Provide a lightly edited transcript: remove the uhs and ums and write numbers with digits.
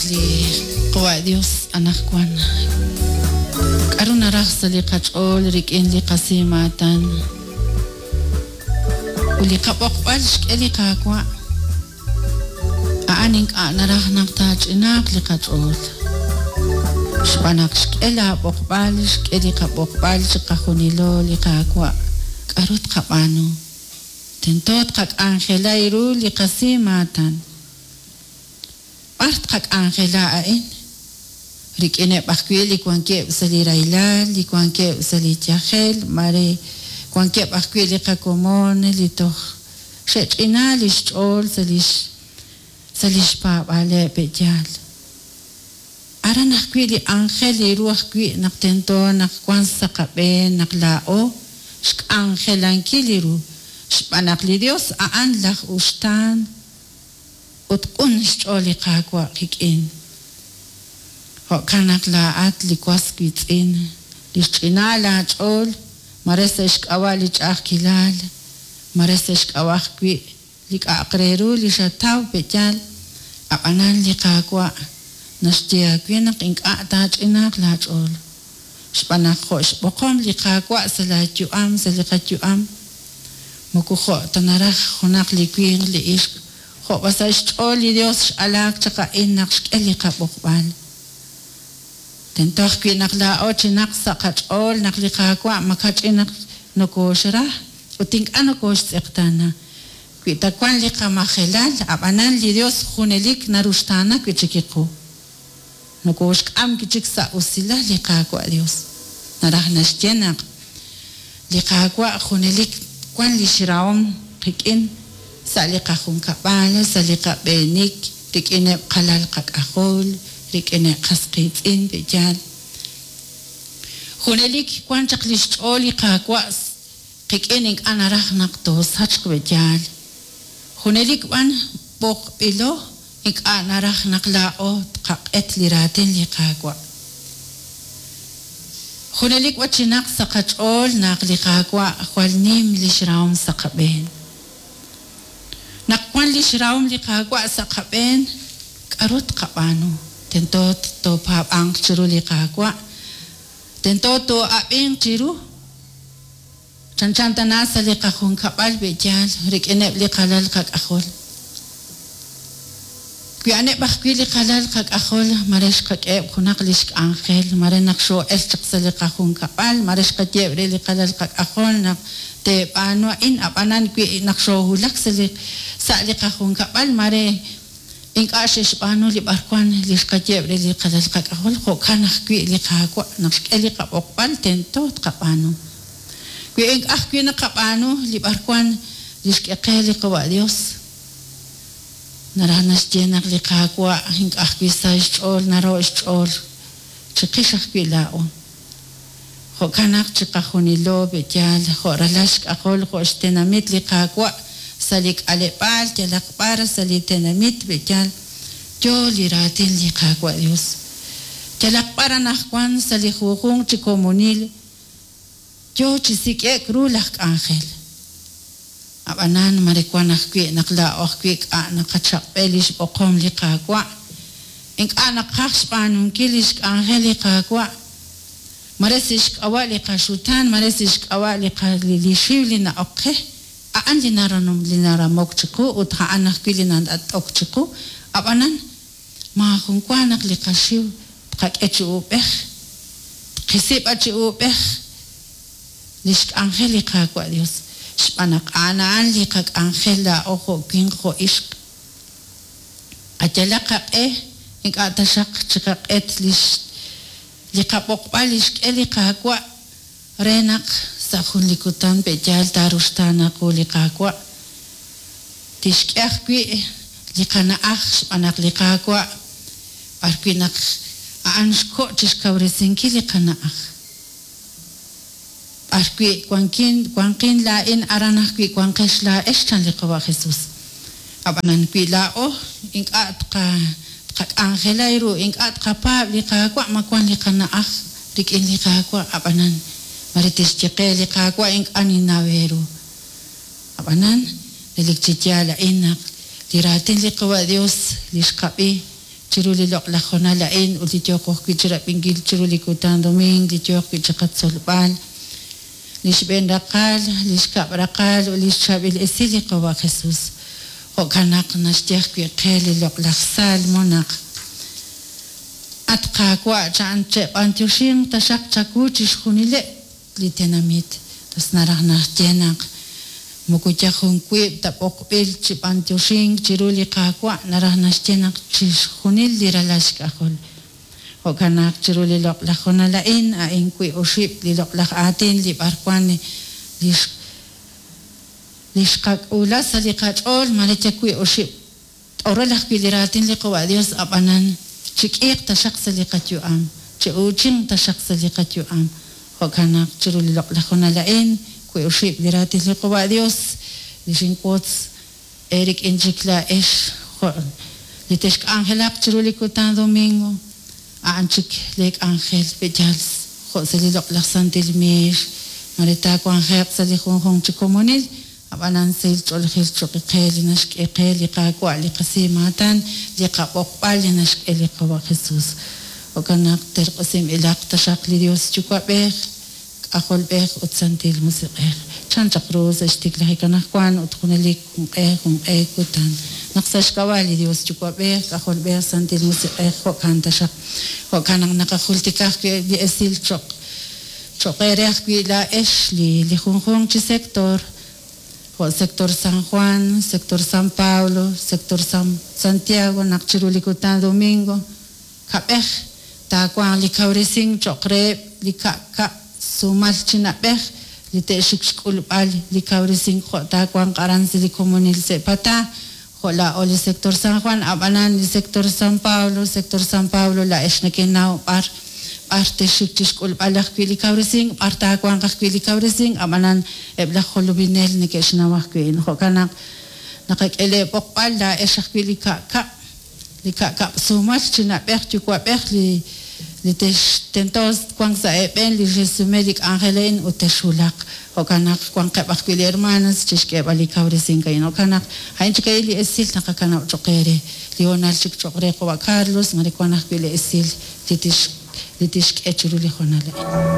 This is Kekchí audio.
li Qawa' Dios anaqwan. K'aru naraj sa' li qach'ool rik'in li qasimaatan ut li qab'oqb'al xk'e li Qaawa'? A'an ink'a' naraj naq taach'inaaq li qach'ool. Xb'aan naq xk'e laab'oqb'al, xk'e li qab'oqb'al chiqajunilo li Qaawa', k'aru tqab'aanu? Tento tqak'anjela ru li qasimaatan. B'ar tqak'anjela a'in? Rik'ineb' ajwi' li wankeb' sa' li rahilal, li wankeb' sa' li yajel, mare wankeb' ajwi' li qakomon li toj xe'ch'ina li xch'ool sa' lix sa' li xpaab'aaleb' pe'yaal. Aran ajwi' li anjel li ru ajwi' naq tento naq wank sa' qab'een naq laa'o xk'anjelankil li ru, xb'aan naq li Dios a'an laj uxtaan ut q'un xch'ool li Qaawa' qik'in. Jo'kan naq laa'at li was wiitz'in, li xch'ina laach'ool, mare sa' xk'ab'a' li ch'a'ajkilal, mare sa' xk'ab'a' ajwi' li k'a'aq re ru li xataw pe'yaal, ab'anan li Qaawa' naxye aawe naq ink'a' taach'inaaq laach'ool. Xb'aan naq jo' xb'oqom li Qaawa' sa' laayu'am, sa' li qayu'am, moko jo' ta naraj junaq li winq li ixq, jo' b'an sa' xch'ool li Dios x'alaak chaq a'in naq xk'e li qab'oqb'al. Tento ajwi' naq laa'o chinaq sa' qach'ool naq li Qaawa' makach'in naq nokooxra ut ink'a' nokooxtz'eqtaana. Wi ta wank li qamajelal, ab'anan li Dios junelik naruxtaana wi' chik qu. Nokooxk'am wi' chik sa' usilal li Qaawa' Dios. Naraj naxye naq li Qaawa' junelik wank li xrahom qik'in sa' li qajunkab'al, sa' li qab'eenik, rik'ineb' qalal qak'ajol, rik'ineb' qas qiitz'in pe'yaal. Junelik wank chaq li xch'ool li Qaawa' qik'in ink'a' naraj naq toosachq pe'yaal. Junelik b'an b'oqb'ilo ink'a' naraj naq laa'o tqaq'et li raatin li Qaawa'. Junelik b'an chinaq sa' qach'ool naq li Qaawa' jwal nim li xrahom sa' qab'een. Naq wank li xrahom li Qaawa' sa' qab'een, k'aru tqab'aanu? Tento toopaab'anq chiru li Qaawa', tento too'ab'inq chiru. Chanchan tana sa' li qajunkab'al pe'yaal rik'ineb' li qalal qak'ajol. Wi a'aneb' ajwi' li qalal qak'ajol, mare xqak'eheb' junaq li xk'anjel, mare naq xoo'elk chaq sa' li qajunkab'al, mare xqayeheb' re li qalal qak'ajol naq teeb'aanu a'in, ab'anan wi naq xoowulak sa' li sa' li qajunkab'al, mare ink'a' xe'xb'aanu li b'arwan li xqayeheb' re li qalal qak'ajol, jo'kan ajwi' li Qaawa' naq xk'e li qab'oqb'al tento tqab'aanu. Wi ink'a' ajwi' naqab'aanu li b'arwan li xk'e qe li Qawa' Dios, naraj naxye naq li Qaawa' ink'a' ajwi' sa xch'ool naro' xch'ool chiqix ajwi' laa'o. Jo'kan naq chiqajunilo pe'yaal jo' ralal xk'ajol jo' xtenamit li Qaawa' sa' li k'aleb'aal yalaq b'ar sa' li tenamit pe'yaal yo li raatin li Qaawa' Dios. Yalaq b'ar anaqwan sa' li junjunq chi komonil yo chi sik'e'k ru laj k'anjel. Ab'anan mare wank ajwi' naq laa'o ajwi' k'a' naqachaq'b'e li xb'oqom li Qaawa', ink'a' naqaj xb'aanunkil li xk'anjel li Qaawa', mare sa' xk'ab'a' li qaxutaan, mare sa' xk'ab'a' li li xiw li na'ok qe, a'an li li naramok chiqu ut a'an ajwi' li nat'ok chiqu, ab'anan maajun wa naq li qaxiw tqak'e chi uub'ej, tqisi b'an chi uub'ej li xk'anjel li Qaawa' Dios, xb'aan naq a'an a'an li qak'anjel laa'o jo' winq jo' ixq. Qayalaq qaq'e ink'a' taxaq chiqaq'et li li qab'oqb'al li xk'e li Qaawa' re naq sa' jun li kutan pe'yaal taaruxtaana qu li Qaawa'. Tixk'e ajwi' li qana'aj xb'aan naq li Qaawa' b'arwi' naq a'an xko' chixkawresinkil li qana'aj. B'arwi' wankin wanqin laa'in aran ajwi' wanqex laa'ex chan li Qawa' Jesús. Ab'anan wi laa'o ink'a' tqak'anjela ru, ink'a' tqapaab' li Qaawa' ma wank li qana'aj rik'in li Qaawa', ab'anan mare tixye qe li Qaawa' ink'a' ninnaw eeru. Ab'anan relik chi yaal a'in naq li raatin li Qawa' Dios li xqab'i. chiru li loq'laj hoonal a'in ut li yooqo ajwi' chirab'inkil chiru li kutan domingo li yooq wi' chiqatzolb'al li xb'een raqal, li xkab' raqal ut li xchaab'il esil li Qawa' Jesus. Jo'kan naq naxye ajwi' qe li loq'laj Salmo naq at Qaawa' cha'an che'b'antioxinq taxaq chawu chixjunileb' li tenamit. Tas naraj naxye naq moko yal jun wiib' ta b'oqb'il chi b'antioxink chiru li Qaawa' naraj naxye naq chixjunil li ralal xk'ajol. Jo'kan naq chiru li loq'laj hoonal a'in, a'in wiib' oxib' li loq'laj aatin li b'arwan li xqak'uula sa' li qach'ool mare yal wiib' oxib' t'orol ajwi' li raatin li Qawa' Dios ab'anan chik'iiq taxaq sa' li qayu'am, chi'uuchinq taxaq sa' li qayu'am. Jo'kan naq chiru li loq'laj hoonal a'in, wiib' oxib' li raatin li Qawa' Dios li xinwotz eerik'in chik laa'ex jo' li texk'anjelaq chiru li kutan domingo, a'an chik le k'anjel pe'yaal jo' sa' li loq'laj santil miix, mare taawanjeq sa' li junjunq chi komonil, ab'anan sahil ch'oolejil choq' qe li naxk'e qe li Qaawa' li qasimaatan, li qab'oqb'al li naxk'e li Qawa' Jesus. Jo'kan naq terq'usinb'ilaq taxaq li Dios Yuwa'b'ej, K'ajolb'ej ut Santil Musiq'ej. Chan chaq ru sa' xtiklajik anaqwan ut junelik junq'e junq'e kutan. Naq sa' xk'ab'a' li Dios Yuwa'b'ej, K'ajolb'ej, Santil Musiq'ej, jo'kan taxaq. Jo'kan naq naqajultika ajwi' li esil choq' choq' eere ajwi' laa'ex li li junjunq chi sector, jo' sector San Juan, sector San Pablo, sector San Santiago, naq chiru li kutan domingo, kab'ej taawanq li kawresink choq' reheb' li ka'kab' sumal chi na'b'ej li te'xik xk'ulb'al li kawresink jo' taawanq aran sa' li komonil Se'pata, jo' laa'o li sector San Juan, ab'anan li sector San Pablo, sector San Pablo laa'ex nekenaw b'ar b'ar texik chixk'ulb'al ajwi' li kawresink, b'ar taawanq ajwi' li kawresink, ab'anan eb' laj jolominel neke'xnaw ajwi'. Jo'kan naq naqak'e lee b'oqb'al laa'ex ajwi' li ka'kab' li ka'kab' sumal chi na'b'ej yuwa'b'ej li li tex tento wank sa' eeb'en li xesume li k'anjel a'in ut texwulaq. Jo'kan naq wanqeb' ajwi' li hermanas chixk'eeb'al li kawresink a'in. Jo'kan naq a'in chik a'in li esil naqakanab' choq' eere. Li hoonal chik choq' re Qawa' Carlos, mare wan ajwi' li esil li tix li tixk'e chiru li hoonal a'in.